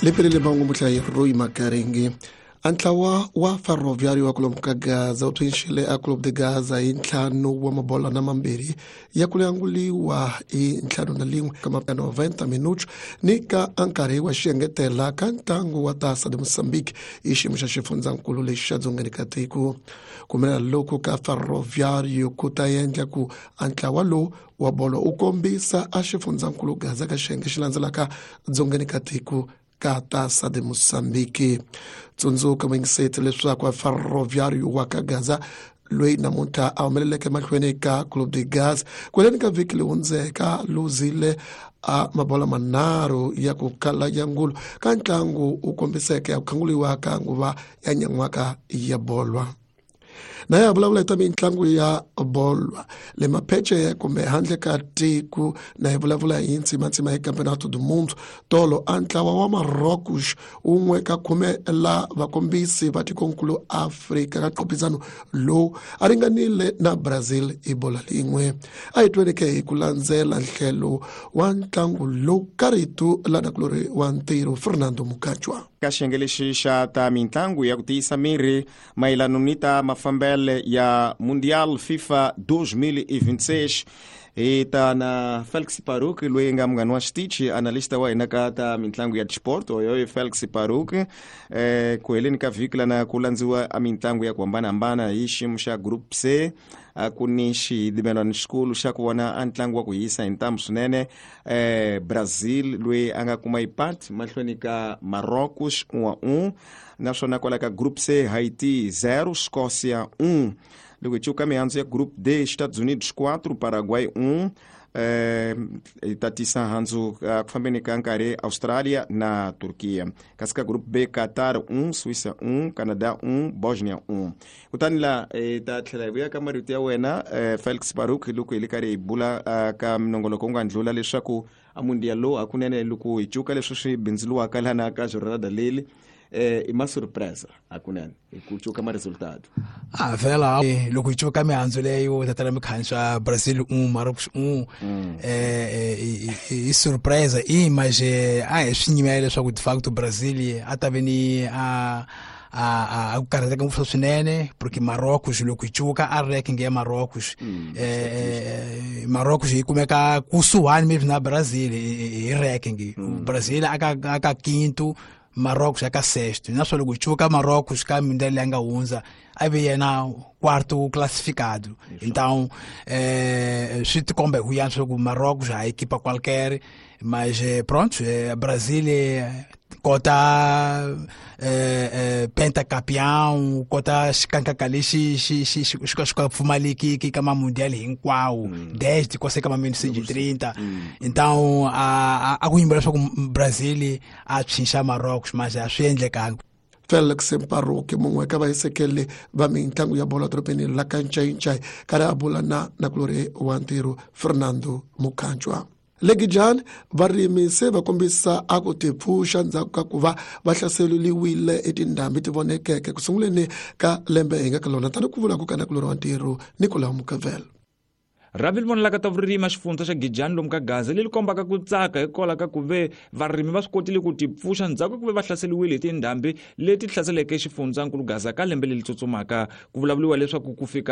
Lepelele mahungu muhlayi Roy Makaringi. A ntlawa wa Ferroviário wa kulomu ka Gaza wu phyinxile a Clube de Gaza hi 5 wa mabola na 2 ya ku languliwa hi 51 ka ma 90 minutos ni ka nkarhi wa xiengetela ka ntlangu wa Taça de Moçambique hi xiyimo xa xifundzankulu lexi xa dzongeni ka tiko. Ku humelela loku ka Ferroviário ku ta endla ku a ntlawa lowu wa bolo wu kombisa a xifundzankulu Gaza ka xiyenge xi landzelaka dzongeni ka tiko ka Taça de Moçambique. Tsundzuka muyingiseti leswaku Ferroviário wa ka Gaza loyi namuntlha a humeleleke mahlweni ka Clube de Gaza kweleni ka vhiki leyi hundzeka luzile a mabola 3 ya ku kala ya ngulu ka ntlangu wu kombiseke ya ku khanguliwa ka nguva ya nyan'waka ya bolwa. Na ya vulavula hi ta mitlangu ya bolwa le maphece kumbe handle ka tiko, na hi vulavula hi ntsimantsima hi Campeonato do Mundo. Tolo a ntlawa wa Marrocos wun'we ka 10 la vakombisi va tikonkulu Afrika ka qophisano lowu a ringanile na Brazil hi bola lin'we. A hi tweneke hi ku landzela nhlelo wa ntlangu lowu ka rito la nakulori wa ntirho Fernando Mukachwa. Ka xiyenge lexi xa ta mitlangu ya ku tiyisa miri mayelano ni ta mafambele ya Mundial FIFA 2026 hi ta na Felix Paruk loyi nga munghani wa xitichi, analysta wa hina ka ta mitlangu ya sport oyo Felix Paruk. Ku heleni ka vhiki lana ku landziwa a mitlangu ya ku hambanahambana hi xiyimo xa Group C. A ku ni xidimelwano xikulu xa ku vona a ntlangu wa ku hisa hi ntamu swinene. Brazil loyi a nga kuma ipat mahlweni ka Marrocos 1-1, naswona kwala ka Group C Haiti 0 Escócia 1. Loko hi cuka mihandzu ya Group D, Estados Unidos 4 Paraguay 1. Hi tatisa handzu ku fambeni ka nkarhi Australia na Turkiya. Kasi ka Group B Qatar 1 Suíça 1 Canada 1 Bosnia 1. Kutani la hi ta tlhela hi vuya ka marito ya wena Felix Baruk loko hi le karhi hi bula ka minongoloko wu nga ndlula leswaku a mundial lowu hakunene loko hi cuka leswi swi bindzuriwaka lana ka jornada leli i ma surpresa hakunene hi ku cuka ma resultado. A vhela loko hi cuka mihandzu leyo tatana mikhanswa Brazil 1 Marrocos 1 i surpresa i mas a hi swi nyimela leswaku de facto Brazil a ta ve ni a a ku karhateka ngopfu swinene porque Marrocos loko hi cuka a ranking ya Marrocos Marrocos yi kumeka kusuhani maybe na Brazil hi ranking. Brazil aka quinto, Marrocos aka sexto. Naswona loko hi cuka Marrocos ka mundial leyi nga hundza a ve yena quarto classificado. Então swi tikomba hi ku yantswa ku Marrocos a equipa qualquer, mas pronto, Brasil kota pentacampeão, kota xikankaka lexi xi xi xi xi ka pfumaleki ka ma mundial hinkwawo desde kwase ka ma 1930. Então a ku yimbela leswaku Brazil a phyinxa Marrocos, mas a swi endlekanga. Felix Mparuki mun'we ka vahisekeli va mitlangu ya bolo dorobeni la ka Ncayincayi karhi a bula na nakulori wa ntirho Fernando Mukhanchwa. Le Gijani varimi se va kombisa a ku tipfuxa ndzhaku ka ku va va hlaseriwile etindhambi ti vonekeke ku sunguleni ka lembe hi nga ka lona, tani ku vula ku ka nakulori wa ntirho Nicolau Mukavel. Rhavi ri vonelaka ta vurimi xifundza xa Gijani lomu ka Gaza leri kombaka ku tsaka hikwalaho ka ku ve varimi va swi kotile ku tipfuxa ndzhaku ka ku ve va hlaseriwile hi tindhambi leti hlaseleke xifundzankulu Gaza ka lembe leri tsutsumaka. Ku vulavuriwa leswaku ku fika